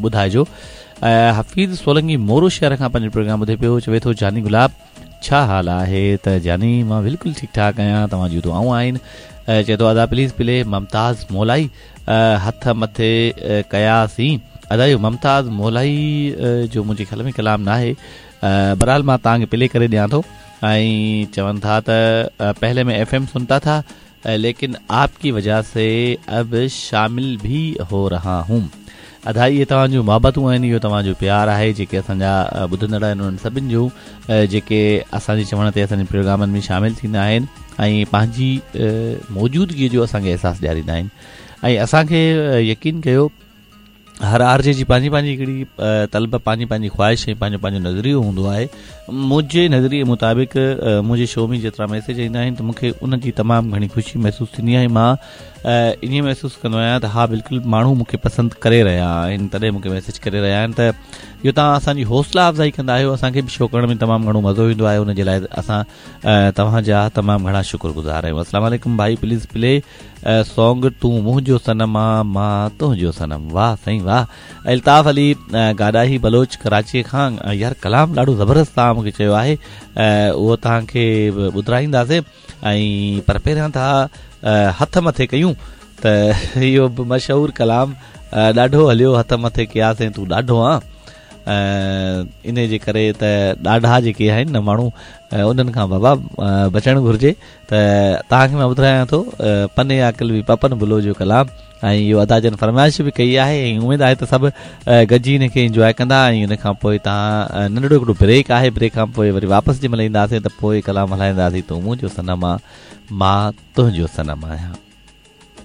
ٻڌائجو. حفيظ سولنگي مورو شهر کان پنهنجو پروگرام ٻڌي پيو چوي ٿو جاني گلاب ڇا حال آهي ته جاني مان بلڪل ٺيڪ ٺاڪ آهيان توهان جون دعائون آهن چئي ٿو ادا پليز پلي ممتاز مولائي هٿ مٿي ڪياسين ادا اهو ممتاز مولائي جو منهنجي خيال ۾ ڪلام ناهي بهرحال مان توهان کي پلي ڪري ڏيان ٿو ۽ چون ٿا ته پهلي مين ايف ايم سنتا ٿا ليڪن آپ ڪي وجه سي اب شامل ڀي هو رها هون ادا اهي توهان جون محبتون آهن اهو توهان جو پيار آهي جيڪي اسان جا ٻڌندڙ آهن انهن سڀن جون جيڪي اسان جي چوڻ تي اسان جي پروگرامن ۾ شامل ٿيندا آهن ۽ پنهنجي موجودگي جو اسان کي احساس ڏياريندا آهن ۽ اسان کي يقين ڪيو هر آر جي جي پنهنجي پنهنجي هڪڙي طلب پنهنجي پنهنجي خواهش ۽ پنهنجو پنهنجو نظريو هوندو آهي منهنجي نظريي مطابق منهنجي شو ۾ جيترا ميسيج ايندا آهن ته مون کي ان جي تمام گهڻي خوشي محسوس ٿيندي آهي مان ائين محسوس ڪندو آهيان ته ها بلڪل ماڻهو مون کي پسند ڪري رهيا آهن تڏهن مون کي ميسيج ڪري رهيا آهن ته اهو توهان اسان جي حوصلا افزائي ڪندا آهيو اسان کي به شو ڪرڻ ۾ تمام گهڻو مزو ايندو آهي ان جي لاء اسان توهان جا تمام گهڻا شڪر گذار آهيون السلام عليڪم ڀائي پليز پلي سونگ تون منهنجو صنم آ مان تنهنجو صنم واه سائين واه الطاف علي گاڏاهي بلوچ ڪراچي کان يار ڪلام ڏاڍو زبردست توهان مونکي چيو آهي اهو توهان کي ٻڌرائينداسين ۽ پر پهريان ٿا هٿ مٿي ڪيون ته اهو به مشهور ڪلام ڏاڍو هليو هٿ مٿي ڪياسين تون ڏاڍو آن انهي جي ڪري ته ڏاڍا جيڪي آهن نه ماڻهو انهن کان بابا بچڻ گهرجي ته توهان کي مان ٻڌايان ٿو پني عاقل به پپن بلو جو ڪلام ۽ اهو ادا جن فرمائش به ڪئي آهي ۽ اميد آهي ته سڀ گڏجي ان کي انجواء ڪندا ۽ ان کان پوء توهان ننڍڙو هڪڙو بريڪ آهي بريڪ کان پوء وري واپس جنهن مهل اينداسين ته پوء ڪلام هلائينداسين تون منهنجو صنم آ مان تنهنجو صنم آهيان.